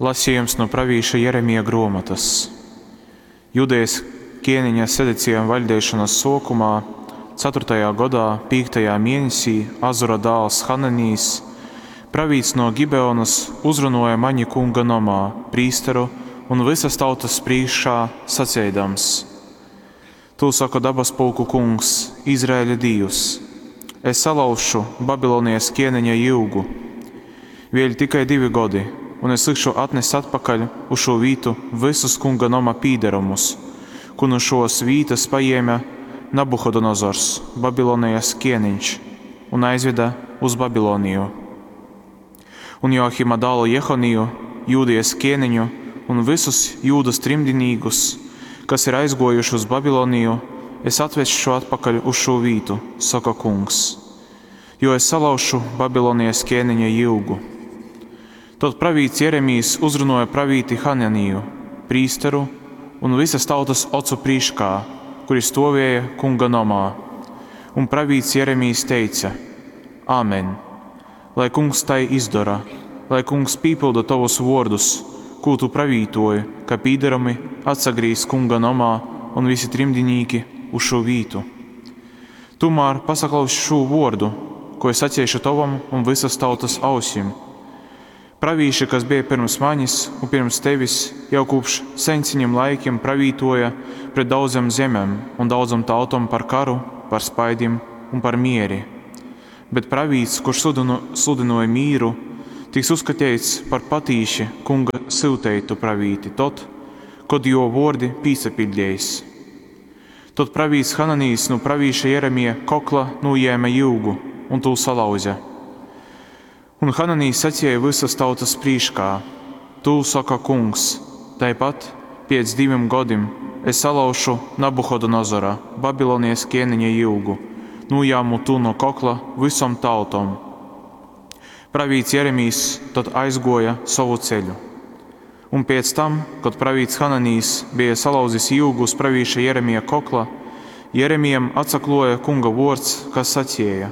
Lasījums nu pravīša Jeremija gruomotys. Judejas kieneņa Sedecija vaļdeišonys suokumā, caturtajā godā, pīktajā mienesī Azura dāls Hananijs, pravīts no Gibeonys, uzrunuoja maņi Kunga nomā, prīsteru un vysas tautas prīškā, saceidams, Tū soka dabaspulku Kungs, Izraeļa Dīvs, Es salauzšu Babilonijas kieneņa jyugu. Vēļ tikai divi godi, un es likšu atnest atpakaļ uz šū vītu vysus Kunga noma pīdarumus, kū nu šōs vītas pajēme Nabuhodonozors, Babilonijas kieneņš, un aizveda uz Babiloniju. Un Joakima dālu Jehoniju, Jūdejas kieneņu, un vysus Jūdas trimdinīkus, kas ir aizguojuši uz Babiloniju, es atvesšu atpakaļ uz šū vītu, soka Kungs, jo es salauzšu Babilonijas kēniņa jyugu. Tod pravīts Jeremijs uzrunuoja pravīti Hananiju, prīsteru un vysas tautas ocu prīškā, kuri stuovēja Kunga nomā. Un pravīts Jeremijs teica: Āmen! Lai Kungs tai izdora, lai Kungs pīpylda tovus vuordus, kū tu pravītoji, ka pīdarumi atsagrīzs Kunga nomā un visi trimdinīki uz šū vītu. Tūmār pasaklaus šū vuordu, ko es saceišu tovam un vysas tautas ausim. Pravīši, kas bija pirms manis un pirms tevis, jau kopš sensiņiem laikiem pravītoja pret daudzām zemēm un daudzām tautom par karu, par spaidim un par mieri. Bet pravīts, kurš sludinu, sludinoja mīru, tiks uzskatīts par patīši kunga syuteitu pravīti tod, kod jo vuordi pīsapiļdeis. Tod pravīts Hananijs nu pravīša Jeremija kokla nūjēma jyugu un tū salauza. Un Hananijs sacīja visas tautas prīškā: Tū soka Kungs, taipat piec divim godim es salauzšu Nabuhodonozora, Babilonijas kēniņa jyugu, nūjāmu tū no kokla vysom tautom. Pravīts Jeremijs tod aizguoja sovu ceļu. Un pēc tam, kad pravīts Hananijs bija salauzis jyugu uz pravīša Jeremija kokla, Jeremijam atsakluoja Kunga vuords, kas sacīja: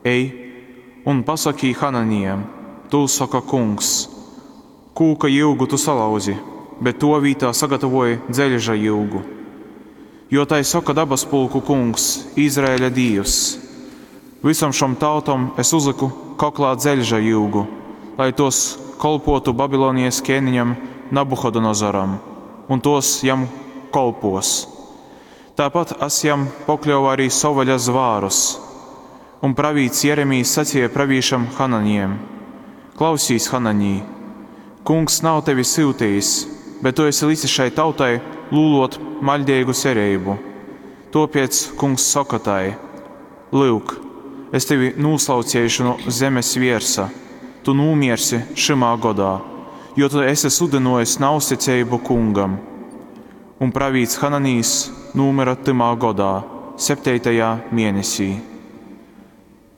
Ej un pasaki Hananijam, tū soka Kungs, kūka jyugu tu salauzi, bet to vītā sagatavoji dzeļža jyugu. Jo tai soka dabaspulku Kungs, Izraeļa Dīvs: Vysom šom tautom es uzliku koklā dzeļža jyugu, lai tos kolpotu Babilonijas kēniņam Nabuhodonozoram, un tos jam kolpos. Tāpat es jam pokļauju arī sovaļa zvārus. Un pravīts Jeremijs sacīja pravīšam Hananijam: Klausīs, Hananij, Kungs nav tevi syutījis, bet tu esi licis šai tautai lūlot maļdīgu cerību. Tāpēc Kungs soka tai: Lūk, es tevi nūslaucēšu no zemes viersa, tu nūmiersi šymā godā, jo tu esi sludinojis nauzticību kungam. Un pravīts Hananijs nūmira tymā godā, septītajā mēnesī.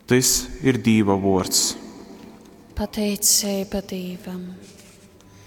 Tys ir Dīva vuords. Pateiceiba Dīvam.